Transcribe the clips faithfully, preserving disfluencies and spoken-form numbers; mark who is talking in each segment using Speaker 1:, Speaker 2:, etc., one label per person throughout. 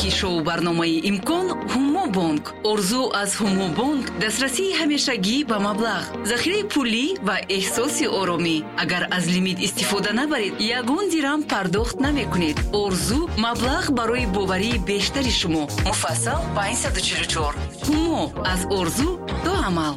Speaker 1: Шарики шоу барномаи «Имкон» Ҳумобонк. Орзу аз Ҳумобонк дастрасии ҳамешагӣ ба маблағ, захираи пулӣ ва эҳсоси оромӣ. Агар аз лимит истифода набаред, ягон дирам пардохт намекунед. Орзу маблағ барои боварии бештари шумо. Муфассал панҷсаду чилу чор. Ҳумо аз орзу то амал.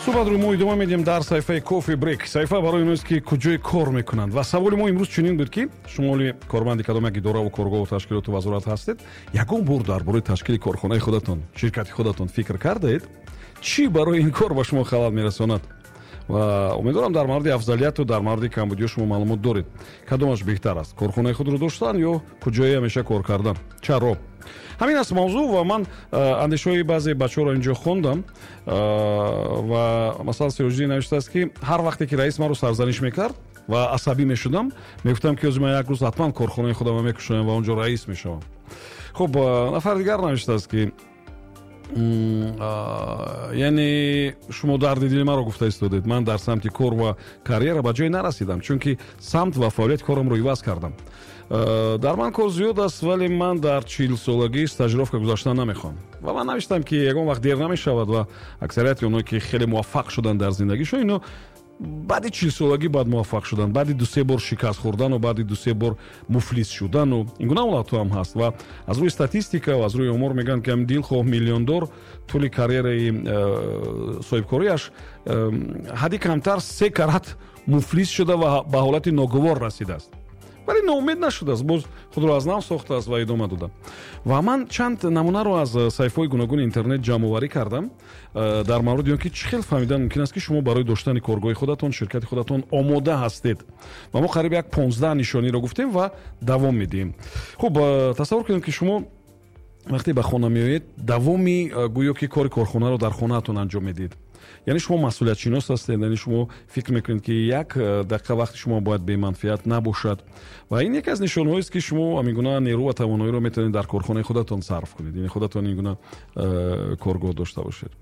Speaker 2: Суҳбатро мо идома медиҳем дар саҳифаи Кофи Брейк. Саҳифа барои оност, ки куҷое кор мекунанд, ва саволи мо имрӯз чунин буд, ки шумо оли корманди кадом як идораву коргоҳу ташкилоту вазорат ҳастед? Ягон бор дар бораи ташкили корхонаи худатон, ширкати худатон фикр кардаед? Чӣ барои ин кор ба шумо халал мерасонад? Ва умедворам, дар мавриди афзалияту дар мавриди камбудиҳо шумо маълумот доред. Кадомаш беҳтар аст: корхонаи худро доштан ё куҷое ҳамеша кор кардан? Чаро? Ҳамин аст мавзӯъ. Ва ман андешаҳои баъзе бачаҳоро инҷо хондам. Ва масалан, Сироҷиддин навиштааст, ки ҳар вақте ки раис маро сарзаниш мекард ва асабӣ мешудам, мегуфтам, ки ҳозир ман як рӯз ҳатман корхонаи худамро мекушоям ва он ҷо раис мешавам. Хуб, нафари дигар навиштааст, ки яъне шумо дарди дили маро гуфта истодед. Ман дар самти кор ва карьера ба ҷое нарасидам, чунки самт ва фаъолияти корамро иваз кардам. Дар ман кор зиёд аст, вале ман дар чилсолагӣ стажировка гузаштан намехоҳам. Ва ман навиштам, ки ягон вақт дер намешавад ва аксарияти оное, ки хеле муваффақ шуданд дар зиндагишон, ино баъди чилсолагӣ баъд муваффақ шуданд, баъди дусе бор шикаст хӯрдану баъди дусе бор муфлис шудану ин гуна ҳолатҳо ҳам ҳаст. Ва аз рӯи статистика ва аз рӯи омор мегӯянд, ки ҳамин дилхоҳ миллиондор тӯли карьераи э, соҳибкориаш э, ҳадди камтар се карат муфлис шуда ва ба ҳолати ногувор расидааст, вале ноумед нашудааст, боз худро аз нав сохтааст ва идома дода. Ва ман чанд намунаро аз саҳифаҳои гуногуни интернет ҷамъоварӣ кардам э, дар мавриди он, ки чӣ хел фаҳмидан мумкин аст, ки шумо барои доштани коргоҳи худатон, ширкати худатон омода ҳастед. Ва мо қариб як понздаҳ нишониро гуфтем ва давом медиҳем. Хуб, э, тасаввур кунем, ки шумо вақте ба хона меоед, давоми э, гӯё ки кори корхонаро дар хонаатон анҷом медиҳед. Яъне шумо масъулиятшинос ҳастед, яъне шумо фикр мекунед, ки як э, дақиқа вақти шумо бояд беманфиат набошад. Ва ин яке аз нишонҳоест, ки шумо ҳамин гуна нерӯ ва тавоноиро метавонед дар корхонаи худатон сарф кунед, яъне худатон ин гуна э, коргоҳ дошта бошед.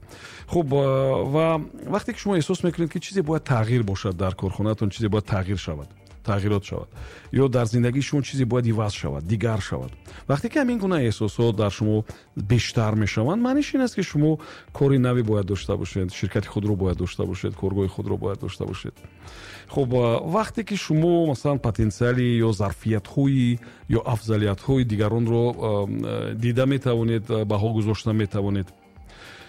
Speaker 2: Хуб, э, ва вақте ки шумо эҳсос мекунед, ки чизе бояд тағйир бошад дар корхонаатон, чизе бояд тағйир шавад, тағйирот шавад ё дар зиндагии шумо чизе бояд иваз шавад, дигар шавад, вақте ки ҳамин гуна эҳсосот дар шумо бештар мешаванд, маъниш ин аст, ки шумо кори наве бояд дошта бошед, ширкати худро бояд дошта бошед, коргоҳи худро бояд дошта бошед. Хуб, вақте ки шумо масалан потенсиали ё зарфиятҳои ё афзалиятҳои дигаронро дида метавонед, баҳо гузошта метавонед.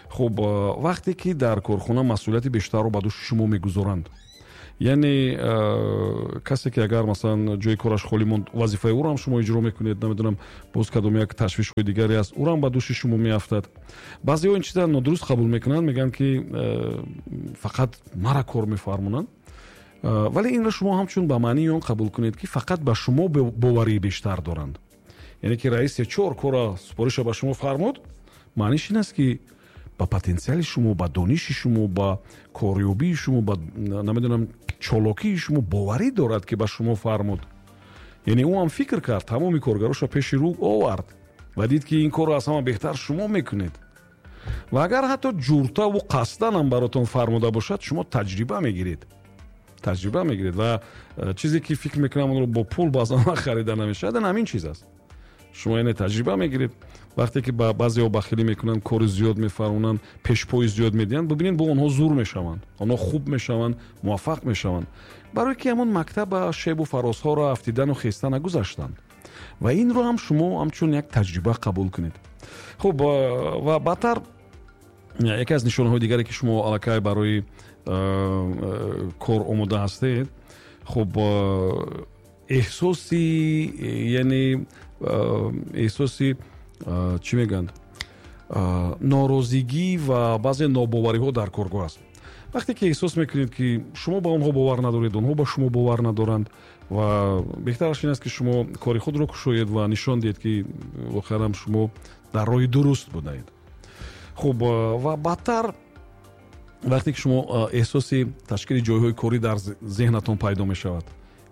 Speaker 2: Хуб, вақте ки дар корхона масъулияти бештарро ба дӯши шумо мегузоранд, яъне э, касе ки агар масалан ҷои кораш холӣ монд, вазифаи ӯро ҳам шумо иҷро мекунед, намедонам, боз кадом як ташвишҳои дигаре аст, ӯро ҳам ба дӯши шумо меафтад. Баъзеҳо ин чиза нодуруст қабул мекунанд, мегӯянд, ки э, фақат мара кор мефармонанд. э, вале инро шумо ҳамчун ба маънии он қабул кунед, ки фақат ба шумо боварии бештар доранд. Яъне ки раис се чор кора супориша ба шумо фармуд, маъниш ин аст, ки ба потенсиали шумо, ба дониши шумо, ба корёбии шумо, ба, намедонам, чолокии шумо боварӣ дорад, ки ба шумо фармуд. Яъне ӯ ҳам фикр кард, тамоми коргароша пеши рӯ овард ва дид, ки ин корро аз ҳама беҳтар шумо мекунед. Ва агар ҳатто ҷуртаву қасдан ҳам баротон фармуда бошад, шумо таҷриба мегиред, таҷриба мегиред. Ва э, чизе ки фикр мекунам, онро бо пул баъзан харида намешавад, ин ҳамин чиз аст. Шумо яъне таҷриба мегиред. Вақте ки ба баъзеҳо бахилӣ мекунанд, кори зиёд мефармонанд, пешпои зиёд медиҳанд, бибинед, бо онҳо зур мешаванд, онҳо хуб мешаванд, муваффақ мешаванд, барое ки ҳамон мактаба шебу фарозҳоро афтидану хеста нагузаштанд. Ва инро ҳам шумо ҳамчун як таҷриба қабул кунед. Хуб, ва баъдтар яке аз нишонаҳои дигаре, ки шумо аллакай барои кор омода ҳастед, хуб, эҳсоси, яъне эҳсоси, чӣ мегӯянд, норозигӣ ва баъзе нобовариҳо дар коргоҳ аст. Вақте ки эҳсос мекунед, ки шумо ба онҳо бовар надоред, онҳо ба шумо бовар надоранд, ва беҳтараш ин аст, ки шумо кори худро кушоед ва нишон диҳед, ки воқеан шумо дар роҳи дуруст будаед. Хуб, ва баъдтар вақте ки шумо эҳсоси ташкили ҷойҳои корӣ дар зеҳнатон пайдо мешавад,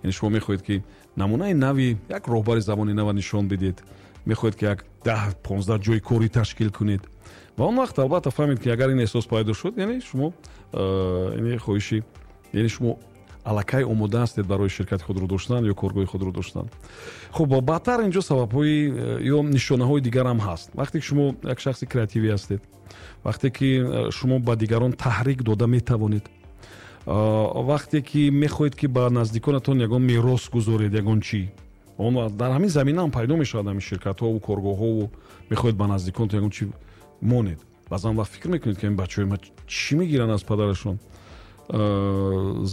Speaker 2: яъне шумо мехоҳед, ки намунаи нави як роҳбари замони нава нишон бидиҳед, мехоҳед, ки як даҳ понздаҳ ҷои корӣ ташкил кунед. Ва он вақт албатта фаҳмед, ки агар ин эҳсос пайдо шуд, яъне шумо, яъне хоҳиши, яъне шумо Аллакай омода ҳастед барои ширкати худро доштан ё коргоҳи худро доштан. Хуб, баъдтар инҷо сабабҳои э, ё нишонаҳои дигарам ҳаст. Вақте ки шумо як шахси креативӣ ҳастед, вақте ки э, шумо ба дигарон таҳрик дода метавонед, вақте ки мехоҳед, ки ба наздиконатон ягон мерос гузоред, ягон чӣ, он дар ҳамин замина ҳам пайдо мешавад, ҳамин ширкатҳову коргоҳҳову. Мехоҳед ба наздиконатон ягон чӣ монед. Баъзан вақт фикр мекунед, ки ин бачаҳои ма чӣ мегиранд аз падарашон: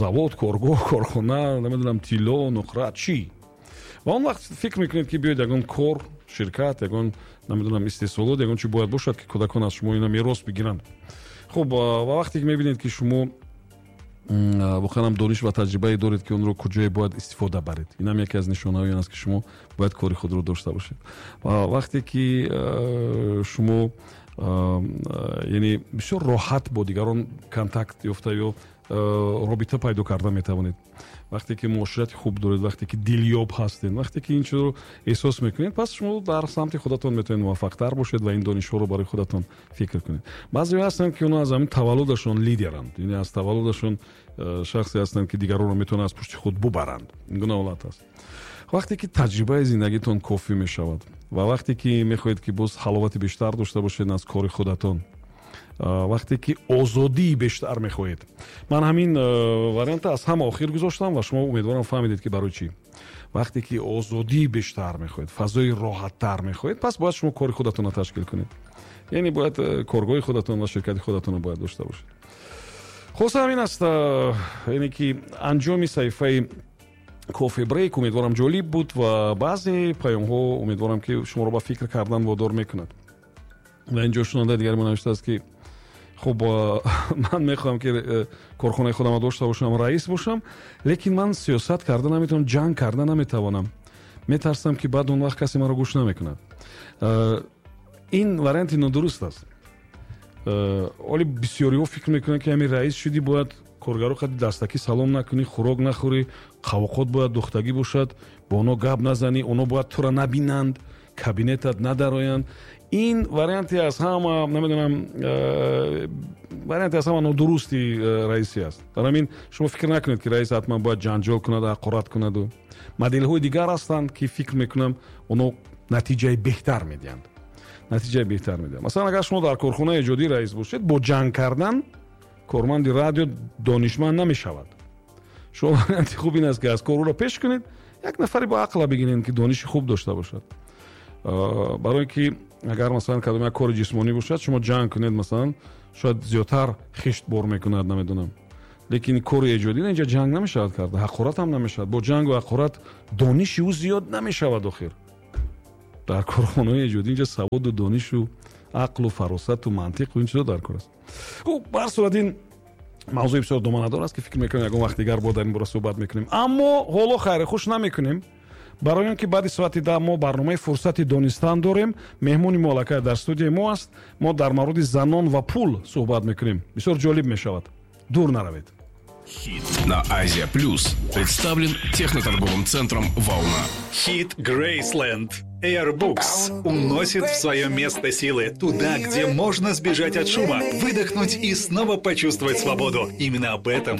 Speaker 2: завод, коргоҳ, корхона, намедонам, тилло, нуқра, чӣ? Ва он вақт фикр мекунед, ки биёед, ягон кор, ширкат, ягон, намедонам, истеҳсолот, ягон чи бояд бошад, ки кӯдакон аз шумо ина мерос бигиранд. Хуб, ва вақте ки мебинед, ки шумо воқеан ҳам дониш ва таҷрибае доред, ки онро куҷое бояд истифода баред, инам яке аз нишонаҳои он аст, ки шумо бояд кори худро дошта бошед. Ва вақте ки шумо, яъне, бисёр роҳат бо дигарон контакт ёфта ё робита пайдо карда метавонед, вақте ки муоширати хуб доред, вақте ки дилёб ҳастед, вақте ки ин чизро эҳсос мекунед, пас шумо дар самти худатон метавонед муваффақтар бошед ва ин донишҳоро барои худатон фикр кунед. Баъзеҳо ҳастанд, ки онҳо аз ҳамин таваллудашон лидеранд, яъне аз таваллудашон э, шахсе ҳастанд, ки дигаронро метавонанд аз пушти худ бубаранд. Ин гуна ҳолат аст. Вақте ки таҷрибаи зиндагитон кофӣ мешавад ва вақте ки мехоҳед, ки боз ҳаловати бештар дошта бошед аз кори худатон, вақте ки озодии бештар мехоҳед. Ман ҳамин варианта аз ҳама охир гузоштам ва шумо, умедворам, фаҳмидед, ки барои чӣ. Вақте ки озодии бештар мехоҳед, фазои роҳаттар мехоҳед, пас бояд шумо кори худатонро ташкил кунед, яъне бояд э, коргоҳи худатон ва ширкати худатонро бояд дошта бошед. Хулоса, ҳамин аст, яъне ки анҷоми саҳифаи кофе брейк. Умедворам, ҷолиб буд ва баъзе паёмҳо, умедворам, ки шуморо ба фикр кардан водор мекунад. Ва инҷо шунавандаи дигари мо навиштааст, ки хуб, ман мехоҳам, ки э, корхонаи худамро дошта бошам, раис бошам, лекин ман сиёсат карда наметавонам, ҷанг карда наметавонам, метарсам, ки баъд он вақт касе маро гӯш намекунад. Э, ин варианти нодуруст аст. Э, оли бисёриҳо фикр мекунанд, ки ҳамин раис шудӣ, бояд коргаро қади дастакӣ салом накунӣ, хӯрок нахӯрӣ, қавоқот бояд духтагӣ бошад, бо онҳо гап назанӣ, онҳо бояд тура набинанд, кабинетат надароянд. Ин варианте аз ҳама, намедонам, э, варианте аз ҳама нодурусти э, раисӣ аст. Дар ҳамин шумо фикр накунед, ки раис ҳатман бояд ҷанҷол кунад, ҳақорат кунаду. Моделҳои дигар ҳастанд, ки фикр мекунам, онҳо натиҷаи беҳтар медиҳанд, натиҷаи беҳтар медиҳанд. Масалан, агар шумо дар корхонаи эҷодӣ раис бошед, бо ҷанг кардан корманди радио донишманд намешавад. Шумо варианти хуб ин аст, ки аз кор ӯро пеш кунед, як нафаре бо ақла бигиред, ки дониши хуб дошта бошад. Барое ки агар, масалан, кадом як кори ҷисмонӣ бошад, шумо ҷанг кунед, масалан, шояд зиёдтар хишт бор мекунад, намедонам. Лекин кори эҷодӣ, инҷа ҷанг намешавад карда, ҳақорат ҳам намешавад. Бо ҷангу ҳақорат дониши ӯ зиёд намешавад. Охир дар корхонаҳои эҷодӣ инҷа саводу донишу ақлу фаросату мантиқу ин чизо дар кор аст. Хуб, ба ҳар сурат, ин мавзӯи бисёр доманадор аст, ки фикр мекунем, ягон вақт дигар бо дар ин бора суҳбат мекунем. Аммо ҳоло хайри хуш намекунем, барои он ки баъди соати да мо барномаи «Фурсати донистан» дорем. Меҳмони мо аллакай дар студияи мо аст. Мо дар мавриди занон ва пул суҳбат мекунем. Бисёр ҷолиб мешавад, дур наравед.
Speaker 3: Хит на Азия Плюс представлен техноторговым центром «Волна».
Speaker 4: Хит Грейсленд Airbooks уносит в свое место силы, туда, где можно сбежать от шума, выдохнуть и снова почувствовать свободу. Именно об этом